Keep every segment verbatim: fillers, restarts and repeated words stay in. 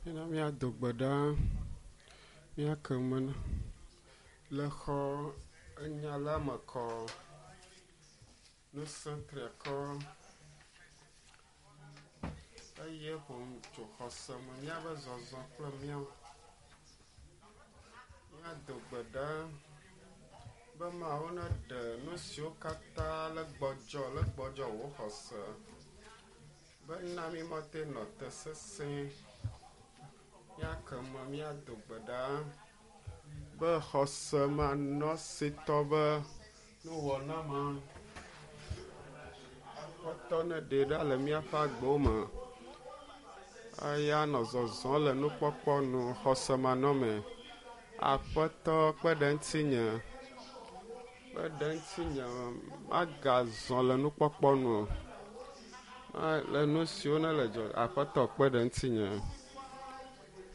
Mina míado gbe ɖa míake me na le xɔ enya la me kɔ. Ŋusẽ triakɔ eye ƒo nu tso xɔse me míabe zɔzɔ kple míawo. Míado gbe ɖa be Mawu neɖe nu siwo katã le gbɔdzɔ le gbɔdzɔ wò xɔse be na mí mate nɔ te sesẽ. Míake me míado gbe ɖa be xɔse manɔsitɔ be nuwɔna ma Aƒetɔ neɖee ɖa le míaƒe agbewo me eya nɔ zɔzɔm le nukpɔkpɔ nu xɔse manɔme. Aƒetɔ kpe ɖe ŋutinye kpe ɖe ŋutinye magazɔ le nukpɔkpɔ nu o. Le nu siwo ne le dzɔ Aƒetɔ kpe ɖe ŋutinye.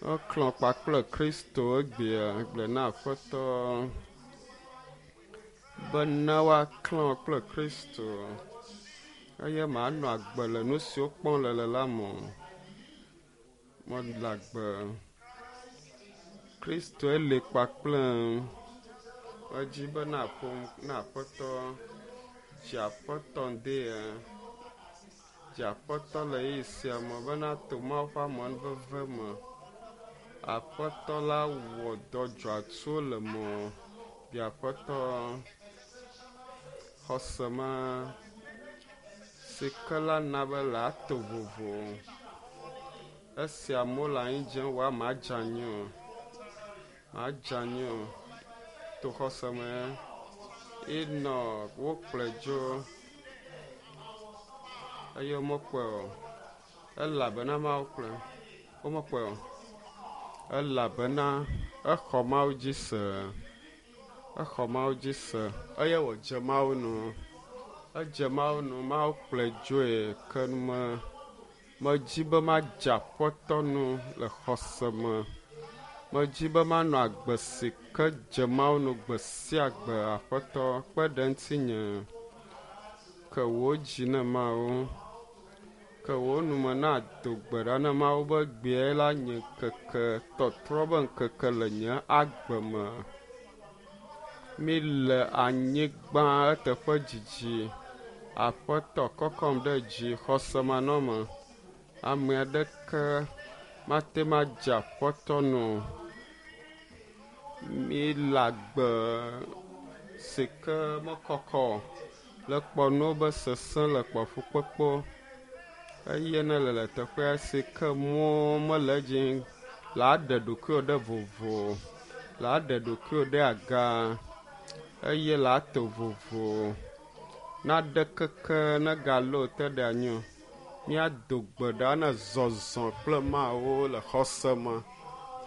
Woklɔ kpakple Kristo egbea gblɔ na Aƒetɔ be ne woaklɔ kple Kristo eye manɔ agbe le nu siwo kpɔm le le la me o. Mele agbe. Kristoe li kpakple edzi be naƒo na Aƒetɔ. Dzi Aƒetɔ ŋdea. Dzi Aƒetɔ le ɣeyiɣi sia me bena to Mawu ƒe amenuveve me. Aƒetɔ la wɔ dɔ dzɔatsuwo le mewò. Dzi Aƒetɔ xɔse ma si ke la na be la to vovo. Esi amewo le anyi dzem woa madze anyi o. Madze anyi o. To xɔse me enɔ wokplɔe dzo eye womekpɔe o. Elabena Mawu kplɔe. Womekpɔe o. Elabena exɔ Mawu dzi se. Exɔ Mawu dzi se eye wòdze Mawu nu. Edze Mawu nu. Mawu kplɔe dzoe ke me medzi be madze Aƒetɔ nu le xɔse me. Medzi be manɔ agbe si ke dze Mawu nu gbe sia gbe. Aƒetɔ kpe ɖe ŋutinye. Ke wò dzi ne Mawu. Ke wò nume na do gbe ɖa ne Mawu be gbee la nye ŋkeke tɔtrɔ be ŋkeke le nye agbe me. Mi le anyigba eteƒe dzidzi. Aƒetɔ kɔkɔm ɖe dzi xɔse manɔme. Ame aɖeke mate ŋu adze Aƒetɔ nu o. Mi le agbe si ke mekɔkɔ o. Le kpɔ nuwo be sesẽ le kpɔ fukpekpewo eye ne le le teƒea si ke mɔ mele edzi la ɖe ɖokuiwò ɖe vovo, la ɖe ɖokuiwò ɖe aga eye la to vovo. Naɖe keke negalé wò te ɖe anyi o. Míado gbe ɖa ne zɔzɔ kple Mawu le xɔse me.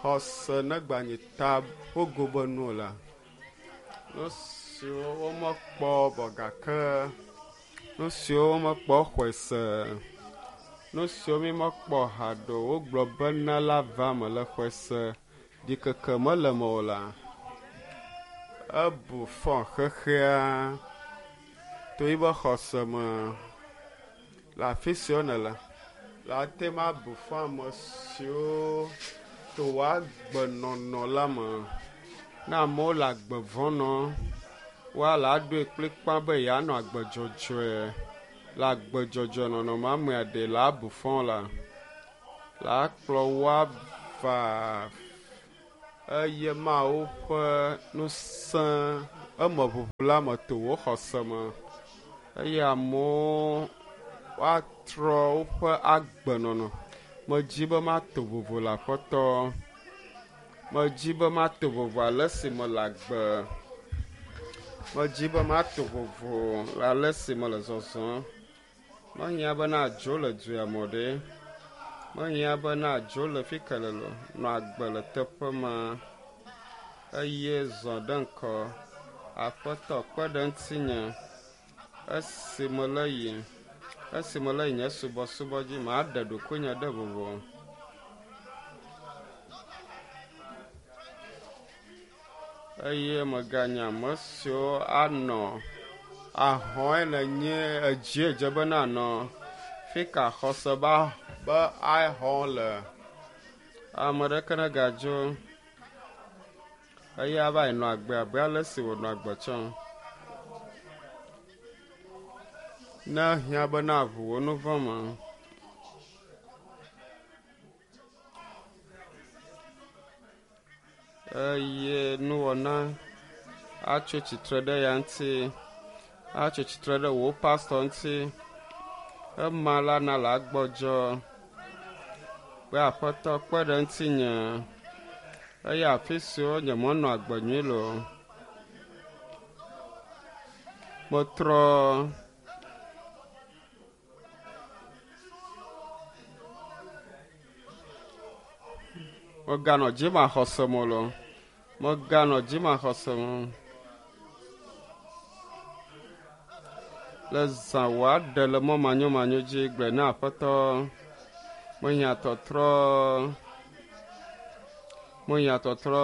Xɔse negbanyi ta ƒogo be nu o la. Nu siwo womekpɔ vɔ gake nu siwo womekpɔ xɔe se. Nu siwo mímekpɔ haɖe o wogblɔ bena la va me le xɔe se. Ɖikeke mele eme o la. Ebu fɔ xexea to yibe xɔse me. Le afi siwo nele, la te ŋu abu fɔ ame siwo to wò agbenɔnɔ la me. Ne amewo le agbe vɔ̃ nɔm, woa la ɖoe kplikpa be yeanɔ agbe dzɔdzɔe. Le agbe dzɔdzɔe nɔnɔ me amea ɖe la bu fɔ la. La kplɔ woava eye Mawu ƒe ŋusẽ eme ʋuʋu la me to wò xɔse me. Eye amewo woatrɔ woƒe agbenɔnɔ. Medzi be mato vovo le Aƒetɔ. Medzi be mato vovo ale si mele agbe. Medzi be mato vovo le ale si mele zɔzɔm. Mehiã be nadzo le dua me o ɖe. Mehiã be nadzo le fi ke le o. Nɔ agbe le teƒe ma eye zɔ ɖe ŋkɔ. Aƒetɔ kpe ɖe ŋutinye esi mele yiyim. Esi mele yi nye subɔsubɔ dzi, maɖe ɖokuinye ɖe vovo. Eye meganye ame siwo anɔ ahɔe le nye edzie dze be nanɔ. Fi ka xɔse ba be ahɔ le. Ame ɖeke negadzo eye ava yi nɔ agbe abe ale si wònɔ agbe tsã. Ne hiã be na ʋu wò nu vɔ̃ me. Eye nuwɔna atso tsitre ɖe ya ŋuti, atso tsitre ɖe wò pastɔ ŋuti. Ema la na la gbɔdzɔ be aƒetɔ kpe ɖe ŋutinye eye afi siwo nyemenɔ agbe nyui le o. Metrɔ meganɔ dzimaxɔse me o. Meganɔ dzimaxɔse me. Le zã wòaɖe le mɔ manyomanyo dzi gblɔe na aƒetɔ. Mehiã tɔtrɔ. Mehiã tɔtrɔ.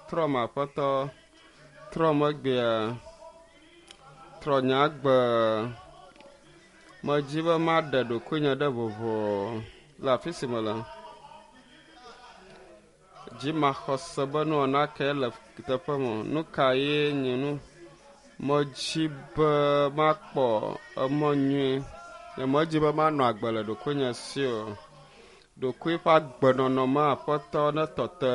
Trɔ me aƒetɔ. Trɔ megbea. Trɔ nye agbe. Medzi be maɖe ɖokuinye ɖe vovo le afi si mele. Dzimaxɔse be nuwɔna kae le teƒe me. Nu ka ye nye nu? Medzi be makpɔ emɔ nyui. Nyemedzi be manɔ agbe le ɖokuinye si o. Ɖokui ƒe agbenɔnɔ me aƒetɔ ne tɔte.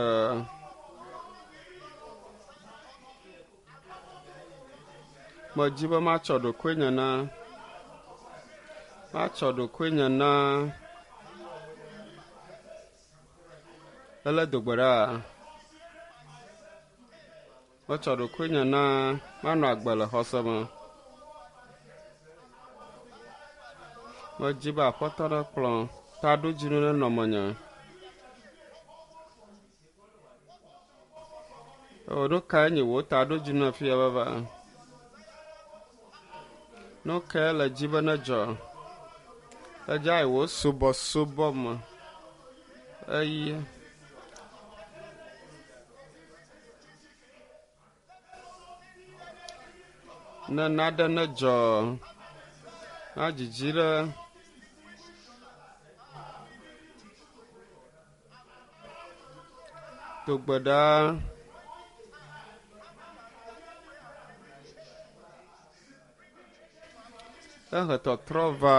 Medzi be matsɔ ɖokuinye na. Matsɔ ɖokuinye na. Ele dogbe ɖa. Metsɔ ɖokuinye na manɔ agbe le xɔse me. Medzi be aƒetɔ ne kplɔ taɖodzinu nenɔ menye. O, nu kae nye wò taɖodzinu afia vava? Nu kae le dzi be nedzɔ? Edze ayi wò subɔsubɔ me. Eye ne naɖe nedzɔ na dzidzi ɖe do gbe ɖa. Ehe tɔtrɔ va.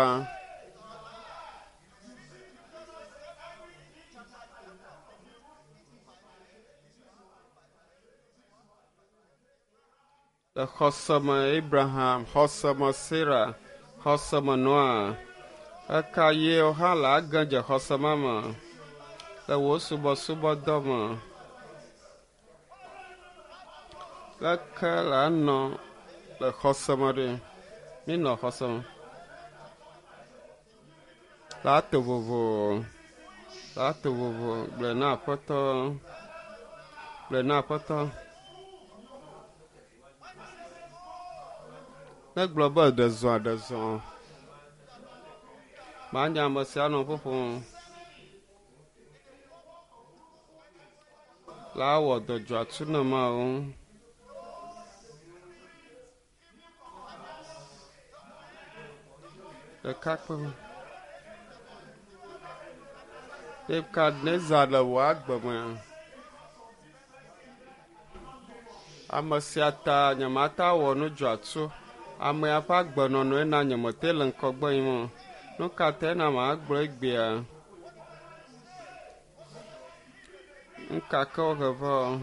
Le xɔseme Abraham, xɔseme Sarah, xɔseme Noa. Eka ye hã le age dze xɔseme me le wò subɔsubɔdɔ me. Leke le anɔ le xɔseme ɖe? Minɔ xɔseme. La to vovo. La to vovo. Gblɔe na aƒetɔ. Gblɔe na aƒetɔ. Ne gblɔ be ɖe zɔa ɖe zɔ. Manya ame sia nɔ ƒoƒom. La wɔ dɔ dzɔatsu na Mawu. Ɖekakpui. Nebukadnezar le wò agbe me. Ame sia ta nyemate awɔ nu dzɔatsu. Amea ƒe agbenɔnɔe na nyemete le ŋgɔgbe yim o. Nu ka tae na magblɔ egbea? Nu ka ke wohe va o.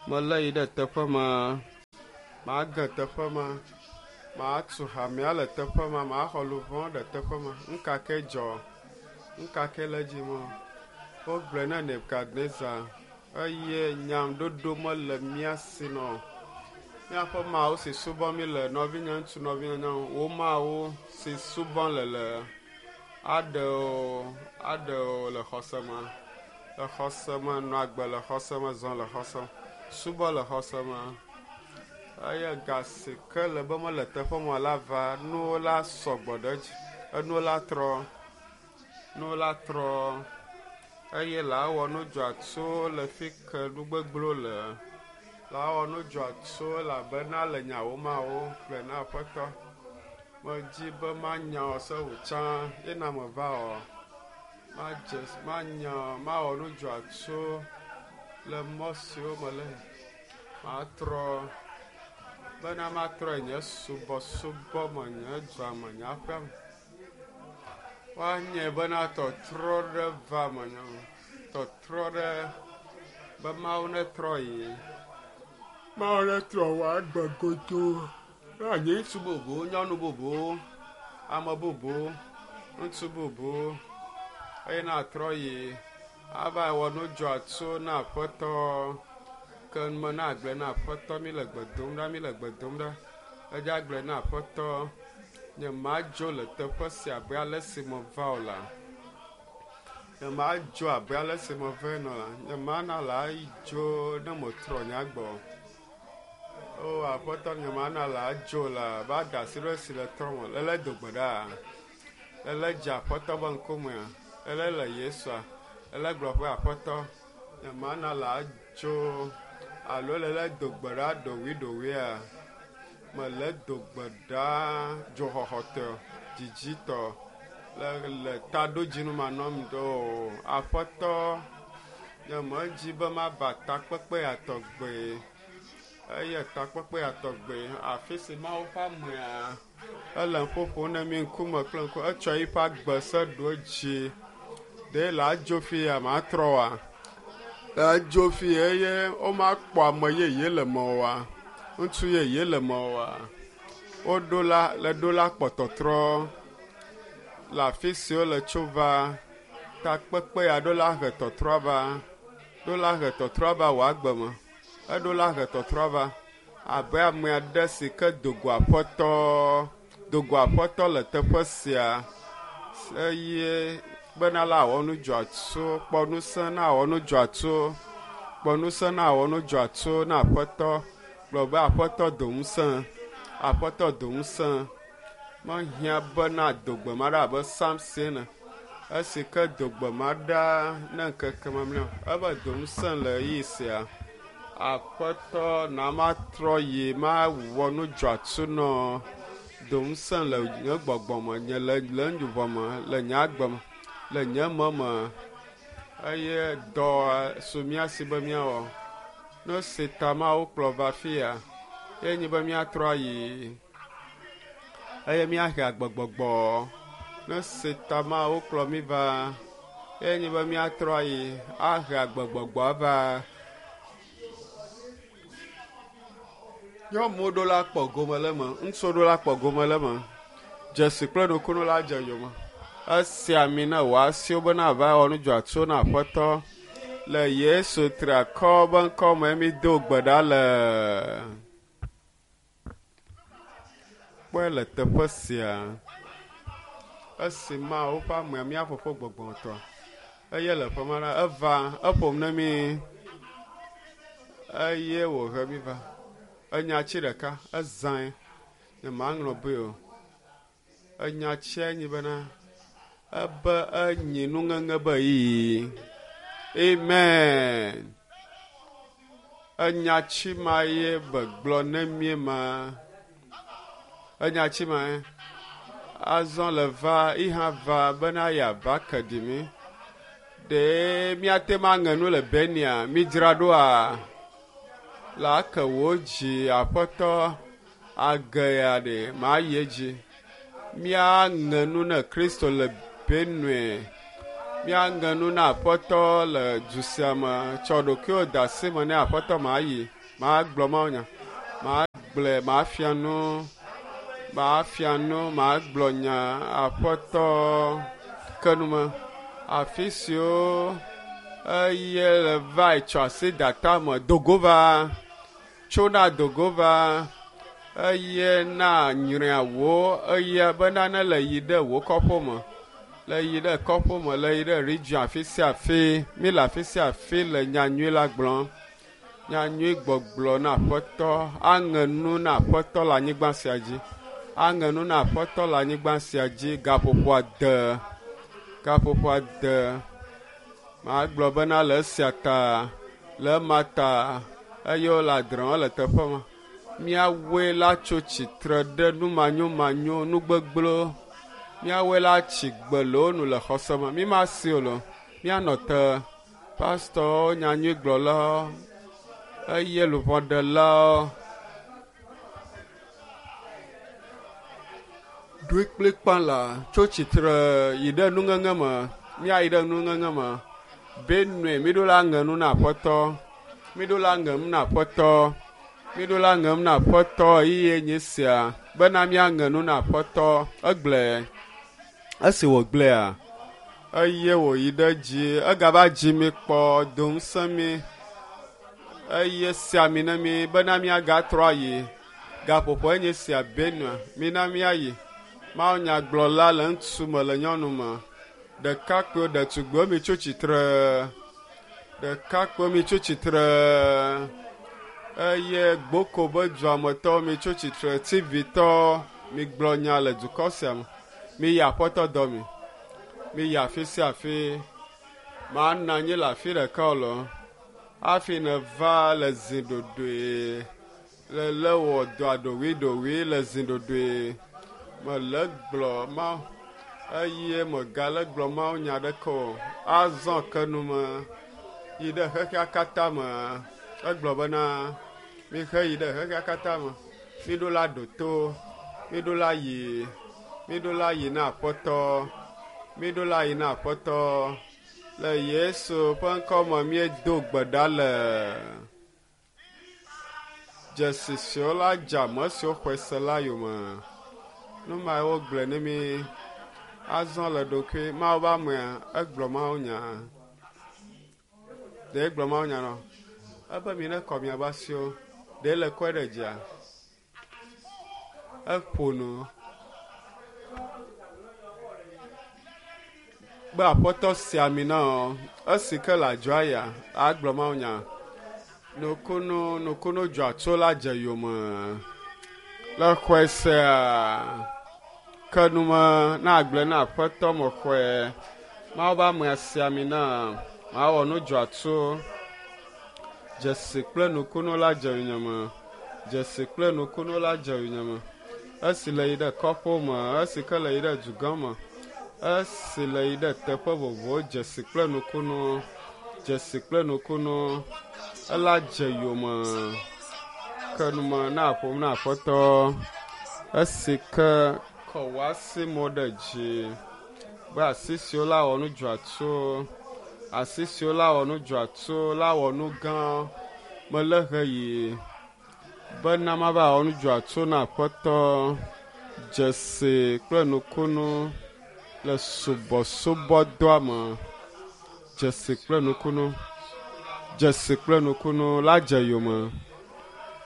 Melé yi ɖe teƒe ma. Mage teƒe ma. Matu hamea le teƒe ma. Maxɔ luʋɔ ɖe teƒe ma. Nu ka ke dzɔ? Nu ka ke le edzi mo? Wogblɔe na Nebukadnezar eye nyamɖoɖo mele mía si nɔ. Míaƒe Mawu si subɔm mi le nɔvinye ŋutsu nɔvinye nyɔnu, wò Mawu si subɔm le le aɖe wò aɖe wò le xɔse me. Le xɔse me nɔ agbe le xɔse me zɔ le xɔse me subɔ le xɔse me. Eye ga si ke le be mele teƒe ma la va nuwo la sɔgbɔ ɖe edzi. Enuwo la trɔ. Nuwo la trɔ. Eye la wɔ nu dzɔatsu le fi ke nu gbegblẽwo le. La wɔ nu dzɔatsu elabena le nyawo mawo gblɔe na aƒetɔ. Medzi be manya wò se wò tsã ye na meva o. Madze manya mawɔ nu dzɔatso le mɔ siwo me le. Matrɔ bena matrɔ nye subɔsubɔ me, nye dua me, nye aƒea me. Woanye bena tɔtrɔ ɖe va menye, tɔtrɔ ɖe be Mawu netrɔ yi. Mawu netrɔ wò agbe godoo. Woanye ŋutsu bubu, nyɔnu bubu, ame bubu, ŋutsu bubu eye natrɔ yi ava wɔ nu dzɔatso na Aƒetɔ. Ke me na agblẽ na Aƒetɔ mi le gbe dom ɖa, mi le gbe dom ɖa. Edze agblẽ na Aƒetɔ. Nye madzo le teƒe sia abe ale si meva o la. Nye madzo abe ale si meva ene o la. Nye mana la dzo ne metrɔ nye agbe o. O Aƒetɔ, nye mana la dzo la va da asi ɖe esi le trɔ me. Lele do gbe ɖa. Lele dze Aƒetɔ be ŋkumea. Lele le Yesua. Lele gblɔ be Aƒetɔ, nye mana la dzo alo lele do gbe ɖa ɖoɖoea. Mele do gbe ɖa dzoxɔxɔtɔ, dzidzitɔ le le taɖodzinu manɔm do. Aƒetɔ, nye medzi be mava takpekpe ya tɔgbe. Eye takpekpe ya tɔgbe afi si Mawu ƒe amea ele ƒoƒom ne mi ŋkume kple ŋku. Etsɔ eƒe agbe se ɖo edzi. Ɖe la dzo fi ya matrɔ wa. La dzo fi eye womakpɔ ame yeye le me oa. Ŋutsu yeye le me oa. Woɖo la le ɖo la kpɔ tɔtrɔ le afi si wole tso va. Takpekpe ya ɖo la he tɔtrɔ va. Ɖo la he tɔtrɔ va wò agbe me. Eɖo la he tɔtrɔ va abe ame aɖe si ke do go Aƒetɔ, do go Aƒetɔ le teƒe sia eye bena la wɔ nu dzɔatso, kpɔ ŋusẽ na wɔ nu dzɔatso, kpɔ ŋusẽ na wɔ nu dzɔatso na Aƒetɔ. Gblɔ be Aƒetɔ do ŋusẽ, Aƒetɔ do ŋusẽ. Mehiã bena do gbe ma ɖa abe Samson ene. Esi ke do gbe ma ɖa ne ŋkeke mamlɛa, ebe do ŋusẽ le ɣeyiɣi sia. Aƒetɔ na matrɔ yi mawɔ nu dzɔatso nɔ. Do ŋusẽ le nye gbɔgbɔ me, nye le le luʋɔ me, le nye agbe me, le nye mɔ me. Eye dɔ su mía si be míawɔ. Nu si ta Mawu kplɔ va fia ye nye be míatrɔ ayi eye míahe agbegbɔgbɔ. Nu si ta Mawu kplɔ mí va ye nye be míatrɔ ayi ahe agbegbɔgbɔ va. Nyɔnuwo ɖo la kpɔ gome le eme, ŋutsuwo ɖo la kpɔ gome le eme. Dzesi kple nukunu la dze yome. Esi ami ne wò asiwo bena ava wɔ nu dzɔatso na Aƒetɔ. Le Yesu triakɔ be ŋkɔ me mi do gbe ɖa le. Kpɔe le teƒe sia. Esi Mawu ƒe amea mía fofo gbɔgbɔmetɔ eye le ƒe ma la eva eƒom ne mi eye wòhe mi va. Enya tsi ɖeka ezãe. Nye maŋlɔ be o. Enya tsia nyi bena ebe enyi nuŋeŋe be ɣeyiɣi. Amen. Enya tsi ma ye be gblɔ ne mí ma. Enya tsi ma ye. Azɔ le va iha va bena yeava ke ɖi mi. Ɖe míate ŋu aŋe nu le Benia midzra ɖoa? La ke wò dzi Aƒetɔ age ya ɖe mayi edzi. Míaŋe nu ne Kristo le Benue. Míaŋe nu na Aƒetɔ le du sia me. Tsɔ ɖokuiwò de asi me ne Aƒetɔ mayi. Magblɔ mawunya. Magblɔe, mafia nu. Mafia nu, magblɔ nya Aƒetɔ ke nu me. Afi siwo eye le va tsɔ asi da tame dogo va. Tso na dogo va. Eye na nyrea wò eye bena ne le yi ɖe wò kɔƒe me. Le yi ɖe kɔƒe me, le yi ɖe region afi sia afi. Mi le afi sia afi le nyanyui la gblɔm. Nyanyui gbɔgblɔ na Aƒetɔ. Aŋe nu na Aƒetɔ le anyigba sia dzi. Aŋe nu na Aƒetɔ le anyigba sia dzi. Gaƒoƒo ade. Gaƒoƒo ade. Magblɔ bena le esia ta, le ema ta eye wole adrẽ le teƒe ma. Míawoe la tso tsitre ɖe numanyomanyo, nugbegblẽwo Míawoe la tsi gbe le wo nu le xɔse me. Mi ma si o lo. Míanɔ te. Pastɔwo, nyanyuigblɔlawo, eye luʋɔɖelawo. Ɖoe kplikpa la tso tsitre yi ɖe nuŋeŋe me. Míayi ɖe nuŋeŋe me. Benue, míɖo la ŋe nu na aƒetɔ. Míɖo la ŋem na aƒetɔ. Míɖo la ŋem na aƒetɔ eye nye sia bena míaŋe nu na aƒetɔ. Egblɔe. Esi wògblɔea, eye wòyi ɖe dzi. Egava dzi mi kpɔ, do ŋusẽ mi eye si ami na mi bena míagatrɔ ayi. Gaƒoƒo enye sia Benue, mina míayi. Mawunyagblɔla le ŋutsu me le nyɔnu me. Ɖekakpuiwo, ɖetugbiwo mitso tsitre. Ɖekakpuiwo mitso tsitre. Eye Gboko be duametɔwo mitso tsitre. Tivitɔwo migblɔ nya le dukɔ sia me. Miyi aƒetɔ dɔ mi. Miyi afi sia afi. Manɔ anyi le afi ɖeka o lo. Hafi neva le zi ɖoɖoe. Le lé wɔ dɔa ɖoɖoeɖoɖoe le zi ɖoɖoe. Mele gblɔ ma eye megale gblɔ Mawu nya ɖeke o. Azɔ ke nu me yi ɖe xexea katã me. Egblɔ bena mihe yi ɖe xexea katã me. Miɖo la ɖo to. Miɖo la yi. Miɖo la yi na aƒetɔ. Miɖo la yi na aƒetɔ. Le Yesu ƒe ŋkɔ me míedo gbe ɖa le. Dzesi siwo la dze ame siwo xɔe se la yome. Nu mae wogblɔe ne mi. Azɔ le ɖokui Mawu be amea egblɔ Mawu nya. Ɖe egblɔ Mawu nya nɔ. Ebe mi ne kɔ miaƒe asiwo. Ɖe le kɔe ɖe dzia. Eƒo nu. Be aƒetɔ si ami na wò. Esi ke le adzɔa ya agblɔ Mawu nya. Nukunu nukunu dzɔatso la dze yome. Le xɔe sea ke nume na agblɔe na aƒetɔ me xɔe. Mawu be amea si ami na mawɔ nu dzɔatso. Dzesi kple nukunu la dze yonyeme. Dzesi kple nukunu la dze yonyeme. Esi le yi ɖe kɔƒewo me, esi ke le yi ɖe dugã me, esi le yi ɖe teƒe vovovowo, dzesi kple nukunu, dzesi kple nukunu, ela dze yome. Ke nume na ƒom na aƒetɔ. Esi ke kɔ wò asi mo ɖe dzi be asi siwo la wɔ nu dzɔatso, asi siwo la wɔ nu dzɔatso la wɔ nu gã. Mele he yi bena mava wɔ nu dzɔatso na aƒetɔ. Dzesi kple nukunu le subɔsubɔdɔa me. Dzesi kple nukunu. Dzesi kple nukunu la dze yome.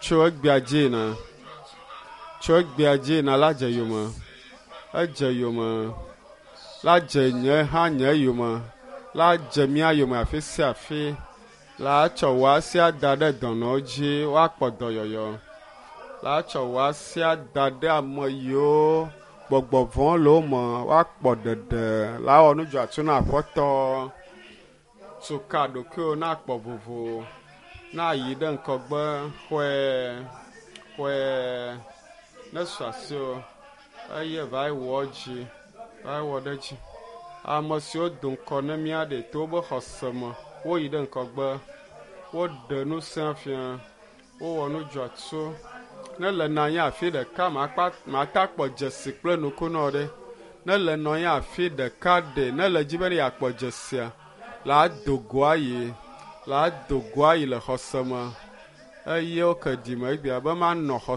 Tso egbea dzi yina. Tso egbea dzi yina la dze yome. Edze yome. La dze nye hã nye yome. La dze mía yome afi sia afi. La tsɔ wò asi ada ɖe dɔnɔwo dzi woakpɔ dɔyɔyɔ. La tsɔ wò asi ada ɖe ame yiwo gbɔgbɔ vɔ̃ le wo me woakpɔ ɖeɖe. La wɔ nu dzɔatso na aƒetɔ. Tu ka ɖokuiwò na kpɔ vovo. Na yi ɖe ŋgɔgbe xɔe xɔe ne su asiwò eye va yi wɔ dzi va yi wɔ ɖe dzi. Ame siwo do ŋkɔ ne mía ɖe to wobe xɔse me woyi ɖe ŋgɔgbe. Woɖe ŋusẽ fia. Wowɔ nu dzɔatso. Ne le nɔ anyi afi ɖeka makpa mata kpɔ dzesi kple nukunɔ ɖe. Ne le nɔ anyi afi ɖeka ɖe ne le dzi be yeakpɔ dzesia la do go ayi la do go ayi le xɔse me. Eye woke dime egbea be manɔ xɔse.